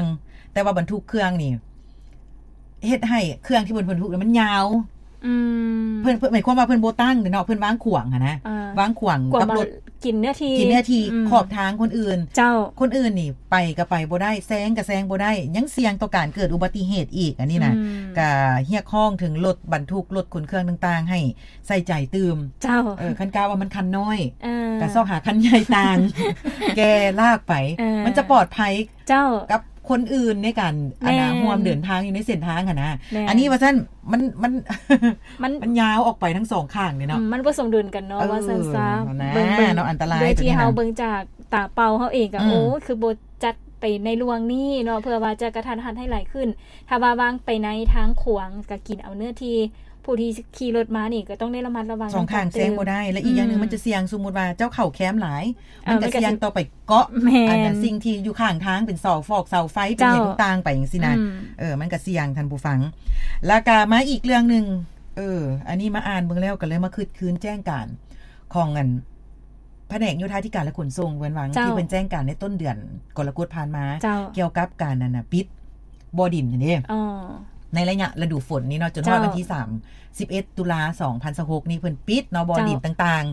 ງ ແຕ່ວ່າບັນທຸກເຄື່ອງນີ້ ເຮັດໃຫ້ເຄື່ອງທີ່ເພິ່ນ ເພິ່ນບັນທຸກນີ້ມັນຍາວ. ອືມ ເພິ່ນ ເພິ່ນ ໝາຍຄວາມວ່າເພິ່ນບໍ່ຕັ້ງເດ້ເນາະ ເພິ່ນວາງຂວາງຫັ້ນນະ ອ່າ ວາງຂວາງ ຂວາງ ກັບລົດ ກິນເນື້ອທີ່ ກິນເນື້ອທີ່ ອືມ ຂອບທາງຄົນອື່ນ. ເຈົ້າ ຄົນອື່ນນີ້ໄປກໍໄປບໍ່ໄດ້ ແຊງກໍແຊງບໍ່ໄດ້ ຍັງສ່ຽງຕໍ່ການເກີດອຸບັດຕິເຫດອີກ. ອັນນີ້ນະ ອືມ ກໍຮຽກຮ້ອງເຖິງລົດບັນທຸກ ລົດຂົນເຄື່ອງຕ່າງໆ ໃຫ້ໃສ່ໃຈຕື່ມ. ເຈົ້າ ເອີ ຄັນກະວ່າມັນຄັນນ້ອຍ ເອີ ກໍຊອກຫາຄັນໃຫຍ່ຕ່າງ ແກ່ລາກໄປ ເອີ ມັນຈະປອດໄພ ເຈົ້າ ກັບຄົນອື່ນໃນການ ແມ່ນ ອັນນ່າ ຮ່ວມເດີນທາງຢູ່ໃນເສັ້ນທາງຫັ້ນນະ. ແມ່ນ ອັນນີ້ວ່າຊັ້ນ ມັນ ມັນ ມັນ ມັນຍາວອອກໄປທັງສອງຂ້າງເດ້ເນາະ. ອືມ ມັນບໍ່ສົມດຸນກັນເນາະ ເອີ ວ່າຊັ້ນຊະ. ຫັ້ນນະ ເບິ່ງໆ ເນາະ ອັນຕະລາຍໂດຍທີ່ເຮົາເບິ່ງຈາກຕາເປົ່າເຮົາເອງກໍ ອືມ ໂອ້ ຄືບໍ່ຈັດໄປໃນລວງນີ້ເນາະ ເພື່ອວ່າຈະກະທັນຫັນໃຫ້ຫຼາຍຂຶ້ນ. ຖ້າວ່າວາງໄປໃນທາງຂວາງ ກໍກິນເອົາເນື້ອທີ່ ຜູ້ທີ່ຂີ່ລົດມານີ້ກໍຕ້ອງໄດ້ລະມັດລະວັງ ສອງຂ້າງແຊງບໍ່ໄດ້ ແລະ ອີກຢ່າງໜຶ່ງ ອືມ ມັນຈະສ່ຽງ ສົມມຸດວ່າເຈົ້າເຂົ້າແຄມຫຼາຍ ເອີ ມັນກໍສ່ຽງຕໍ່ໄປເກາະ ແມ່ນ ອັນນ່າ ສິ່ງທີ່ຢູ່ຂ້າງທາງ ເປັນເສົາຟອກເສົາໄຟ ເປັນຫຍັງ ເຈົ້າ ຕ່າງໆໄປຈັ່ງຊີ້ນະ. ອືມ ເອີ ມັນກໍສ່ຽງ ທ່ານຜູ້ຟັງ. ແລ້ວກໍມາອີກເລື່ອງໜຶ່ງ ເອີ ອັນນີ້ມາອ່ານເບິ່ງແລ້ວ ກໍເລີຍມາຄຶດຄືນແຈ້ງການຂອງອັນ ພະແນກໂຍທາທິການ ແລະ ຂົນສົ່ງ ເພິ່ນວ່າ ເຈົ້າ ທີ່ເພິ່ນແຈ້ງການໃນຕົ້ນເດືອນກໍລະກົດຜ່ານມາ ເຈົ້າ ກ່ຽວກັບການ ອັນນ່າ ປິດບໍ່ດິນຫັ້ນເດ້ ອໍ ໃນໄລຍະລະດູຝົນນີ້ເນາະ ຈົນຮອດ ເຈົ້າ ວັນທີສາມສິບເອັດ ຕຸລາ ສອງພັນຊາວຫົກນີ້ ເພິ່ນປິດເນາະ ບໍ່ດິນ ເຈົ້າ ຕ່າງ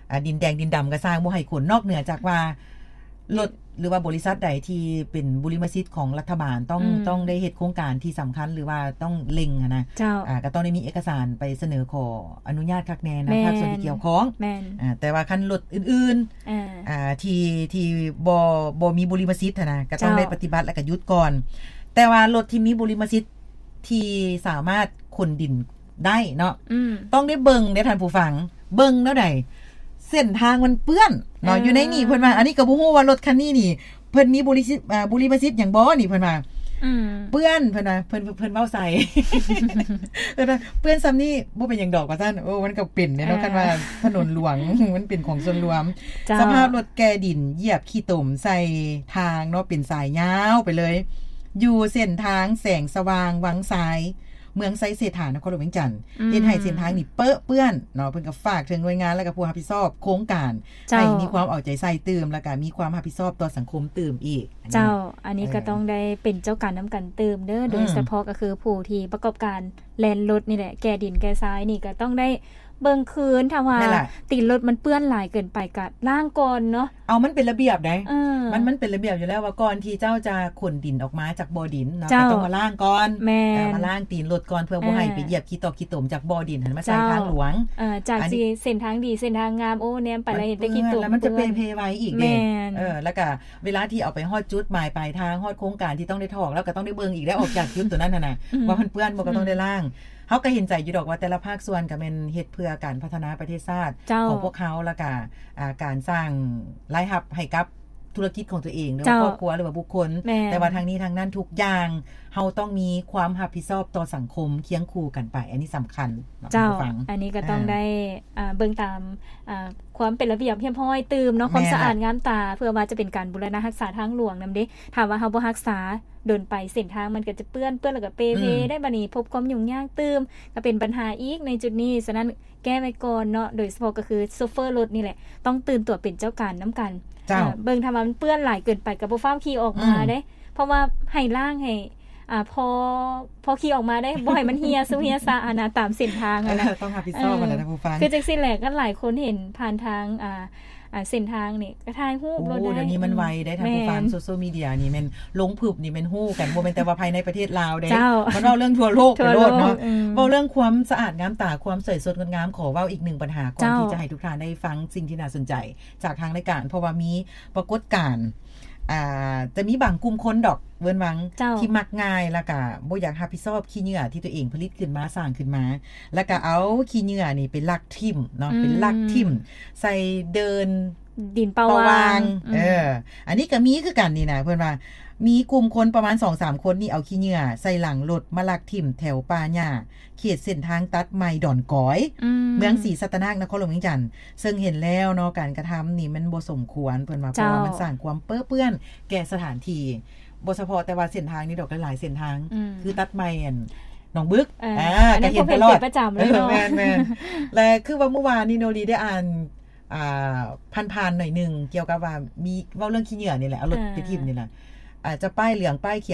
ໆ ອາ ດິນແດງດິນດຳກໍຊ່າງ ບໍ່ໃຫ້ຂົນ ນອກເໜືອຈາກວ່າ ລົດ ຫຼືວ່າບໍລິສັດໃດທີ່ເປັນບຸລິມະສິດຂອງລັດຖະບານ ຕ້ອງ ອືມ ຕ້ອງໄດ້ເຮັດໂຄງການທີ່ສຳຄັນ ຫຼືວ່າຕ້ອງເລັ່ງຫັ້ນນະ ເຈົ້າ ອາ ກໍຕ້ອງໄດ້ມີເອກະສານໄປສະເໜີຂໍອະນຸຍາດຄັກແນ່ນະ ແມ່ນ ພາກສ່ວນທີ່ກ່ຽວຂ້ອງ. ແມ່ນ ອາ ແຕ່ວ່າຄັນລົດອື່ນໆ ອາ ອາ ທີ່ ທີ່ບໍ່ ບໍ່ມີບຸລິມະສິດຫັ້ນນະ ກໍຕ້ອງ ເຈົ້າ ໄດ້ປະຕິບັດ ແລ້ວກໍຢຸດກ່ອນ. ແຕ່ວ່າລົດທີ່ມີບຸລິມະສິດທີ່ສາມາດຂົນດິນ ໄດ້ເນາະ ອືມ ຕ້ອງໄດ້ເບິ່ງເດ້ທ່ານຜູ້ຟັງ ເບິ່ງແນວໃດ ເສັ້ນທາງມັນເປື້ອນເນາະ ເອີ ຢູ່ໃນນີ້ເພິ່ນວ່າ ອັນນີ້ກໍບໍ່ຮູ້ວ່າລົດຄັນນີ້ນີ້ ເພິ່ນມີບຸລິສິດ ອາ ບຸລິມະສິດຫຍັງບໍ່ນີ້ ເພິ່ນວ່າ ອືມ ເປື້ອນ ເພິ່ນວ່າ ເພິ່ນ ເພິ່ນເວົ້າໃສ່ ເພິ່ນວ່າ ເປື້ອນຊ່ຳນີ້ບໍ່ເປັນຫຍັງດອກວ່າຊັ້ນ. ໂອ້ ມັນກໍເປັນເດ້ເນາະ ເອີ ຄັນວ່າຖະໜົນຫຼວງ ມັນເປັນຂອງສ່ວນລວມ. ເຈົ້າ ສະພາບລົດແກ່ດິນ ຢຽບຂີ້ຕົມໃສ່ທາງເນາະ ເປັນສາຍຍາວໄປເລີຍ ຢູ່ເສັ້ນທາງແສງສະຫວ່າງວັງຊາຍ ເມືອງໄຊເສດຖາ ນະຄອນຫຼວງວຽງຈັນ ອືມ ເຮັດໃຫ້ເສັ້ນທາງນີ້ເປິເປື້ອນເນາະ. ເພິ່ນກໍຝາກເຖິງໜ່ວຍງານ ແລ້ວກໍຜູ້ຮັບຜິດຊອບໂຄງການ ເຈົ້າ ໃຫ້ມີຄວາມເອົາໃຈໃສ່ຕື່ມ ແລ້ວກໍມີຄວາມຮັບຜິດຊອບຕໍ່ສັງຄົມຕື່ມອີກ. ເຈົ້າ ອັນນີ້ ເອີ ກໍຕ້ອງໄດ້ເປັນເຈົ້າການນຳກັນຕື່ມເດີ ອືມ ໂດຍສະເພາະກໍຄືຜູ້ທີ່ປະກອບການແລ່ນລົດນີ້ແຫຼະ ແກ່ດິນແກ່ຊາຍນີ້ກໍຕ້ອງໄດ້ເບິ່ງຄືນ ຖ້າວ່າ ແມ່ນລະ ຕີນລົດມັນເປື້ອນຫຼາຍເກີນໄປກໍລ້າງກ່ອນເນາະ. ເອົາ ມັນເປັນລະບຽບໃດ ເອີ ມັນ ມັນເປັນລະບຽບຢູ່ແລ້ວວ່າ ກ່ອນທີ່ເຈົ້າຈະຂົນດິນອອກມາຈາກບໍ່ດິນເນາະ ເຈົ້າ ກໍຕ້ອງມາລ້າງກ່ອນ ແມ່ນ ເອີ ມາລ້າງຕີນລົດກ່ອນ ເພື່ອບໍ່ໃຫ້ ເອີ ໄປຢຽບຂີ້ຕົມ ຂີ້ຕົມຈາກບໍ່ດິນຫັ້ນມາໃສ່ ເຈົ້າ ທາງຫຼວງ. ເອີ ຈາກ ອັນນີ້ ຊິເສັ້ນທາງດີ ເສັ້ນທາງງາມ ໂອ້ ແນມໄປແລ້ວເຫັນແຕ່ຂີ້ຕົມ ແລ້ວມັນຈະເປເພໄວອີກເດ້. ແມ່ນ ເອີ ແລ້ວກະເວລາທີ່ເອົາໄປຮອດຈຸດໝາຍປາຍທາງ ຮອດໂຄງການທີ່ຕ້ອງໄດ້ຖອກ ແລ້ວກໍຕ້ອງໄດ້ເບິ່ງອີກ ໄດ້ອອກຈາກຈຸດຕົວນັ້ນຫັ້ນນະ ອືມ ວ່າມັນເປື້ອນບໍ່ ກໍຕ້ອງໄດ້ລ້າງ. ເຮົາກໍເຫັນໃຈຢູ່ດອກວ່າ ແຕ່ລະພາກສ່ວນກໍແມ່ນເຮັດເພື່ອການພັດທະນາປະເທດຊາດ ເຈົ້າ ຂອງພວກເຮົາ ແລ້ວກໍ ອາ ການສ້າງລາຍຮັບໃຫ້ກັບທຸລະກິດຂອງຕົວເອງ ຫຼືວ່າ ເຈົ້າ ຄອບຄົວ ຫຼືວ່າບຸກຄົນ. ແມ່ນ ແຕ່ວ່າທັງນີ້ທັງນັ້ນ ທຸກຢ່າງເຮົາຕ້ອງມີຄວາມຮັບຜິດຊອບຕໍ່ສັງຄົມຄຽງຄູ່ກັນໄປ ອັນນີ້ສຳຄັນເນາະ ເຈົ້າ ທ່ານຜູ້ຟັງ. ອັນນີ້ກໍຕ້ອງ ອາ ໄດ້ ອາ ເບິ່ງຕາມ ອາ ຄວາມເປັນລະບຽບຮຽບຮ້ອຍຕື່ມເນາະ ຄວາມ ແມ່ນລະ ສະອາດງາມຕາ ເພື່ອວ່າຈະເປັນການບູລະນະຮັກສາທາງຫຼວງນຳເດ້. ຖ້າວ່າເຮົາບໍ່ຮັກສາດົນໄປ ເສັ້ນທາງມັນກໍຈະເປື້ອນ ເປື້ອນແລ້ວກໍເປເພ ອືມ ໄດ້ ບາດນີ້ພົບຄວາມຫຍຸ້ງຍາກຕື່ມ ກໍເປັນບັນຫາອີກໃນຈຸດນີ້. ສະນັ້ນ ແກ້ໄວ້ກ່ອນເນາະ ໂດຍສະເພາະກໍຄືໂຊເຟີລົດນີ້ແຫຼະ ຕ້ອງຕື່ນຕົວເປັນເຈົ້າການນຳກັນ. ເຈົ້າ ເອີ ເບິ່ງຖ້າວ່າມັນເປື້ອນຫຼາຍເກີນໄປກໍບໍ່ຟ້າວຂີ່ອອກມາ ອືມ ເດ້ ເພາະວ່າໃຫ້ລ້າງໃຫ້ ອາ ພໍ ພໍຂີ່ອອກມາເດ້ ບໍ່ໃຫ້ມັນເຫ່ຍຊຸເຫ່ຍຊະຫັ້ນນະ ຕາມເສັ້ນທາງຫັ້ນນະ. ເອີ ຕ້ອງຮັບຜິດຊອບຫັ້ນນະ ເອີ ທ່ານຜູ້ຟັງ. ຄືຈັ່ງຊີ້ແຫຼະ ຄັນຫຼາຍຄົນເຫັນຜ່ານທາງ ອາ ອາ ເສັ້ນທາງນີ້ກໍຖ່າຍຮູບໂລດໄດ້. ໂອ້ ດຽວນີ້ມັນໄວເດ້ທ່ານຜູ້ຟັງ. ແມ່ນ ໂຊຊຽວມີເດຍນີ້ແມ່ນລົງປຶບນີ້ແມ່ນຮູ້ກັນ ບໍ່ແມ່ນແຕ່ວ່າພາຍໃນປະເທດລາວເດ້ ເຈົ້າ ມັນເວົ້າເລື່ອງທົ່ວໂລກໄປໂລດເນາະ. ເວົ້າເລື່ອງຄວາມສະອາດງາມຕາ ຄວາມສວຍສົດງົດງາມ ຂໍເວົ້າອີກໜຶ່ງບັນຫາກ່ອນທີ່ຈະໃຫ້ທຸກທ່ານໄດ້ຟັງສິ່ງທີ່ໜ້າສົນໃຈຈາກທາງລາຍການ ເພາະວ່າມີປາກົດການ ອ່າ ຈະມີບາງກຸ່ມຄົນດອກ ເວີ້ນວັງ ເຈົ້າ ທີ່ມັກງ່າຍ ແລ້ວກະບໍ່ຢາກຮັບຜິດຊອບຂີ້ເຫຍື້ອທີ່ຕົວເອງຜະລິດຂຶ້ນມາ ສ້າງຂຶ້ນມາ ແລ້ວກະເອົາຂີ້ເຫຍື້ອນີ້ໄປລັກຖິ້ມເນາະ ອືມ ໄປລັກຖິ້ມໃສ່ເດີ່ນ ດິນເປົ່າວ່າງ ເປົ່າວ່າງ ອືມ ເອີ ອັນນີ້ກໍມີຄືກັນນີ້ນະ ເພິ່ນວ່າມີກຸ່ມຄົນປະມານສອງສາມຄົນນີ້ ເອົາຂີ້ເຫຍື້ອໃສ່ຫຼັງລົດມາລັກຖິ້ມແຖວປ່າຫຍ້າ ເຂດເສັ້ນທາງຕັດໃໝ່ດອນກອຍ ອືມ ເມືອງສີສັດຕະນາກ ນະຄອນຫຼວງວຽງຈັນ ເຊິ່ງເຫັນແລ້ວເນາະ ການກະທຳນີ້ມັນບໍ່ສົມຄວນ ເພິ່ນວ່າ ເຈົ້າ ເພາະວ່າມັນສ້າງຄວາມເປິເປື້ອນແກ່ສະຖານທີ່ ບໍ່ສະເພາະແຕ່ວ່າເສັ້ນທາງນີ້ດອກ ຫຼາຍໆເສັ້ນທາງ ອືມ ຄືຕັດໃໝ່ ອັນ ໜອງບຶກ ເອີ ອ່າ ກໍເຫັນຕະຫຼອດ ປະຈຳເລີຍເນາະ. ເອີ ແມ່ນໆ ແລະ ຄືວ່າມື້ວານນີ້ໂນລີໄດ້ອ່ານ ອ່າ ຜ່ານໆໜ້ອຍໜຶ່ງ ກ່ຽວກັບວ່າມີເວົ້າເລື່ອງຂີ້ເຫຍື້ອນີ້ແຫຼະ ເອົາລົດ ເອີ ໄປຖິ້ມນີ້ແຫຼະ ອາດຈະປ້າຍເຫຼືອງປ້າຍຂ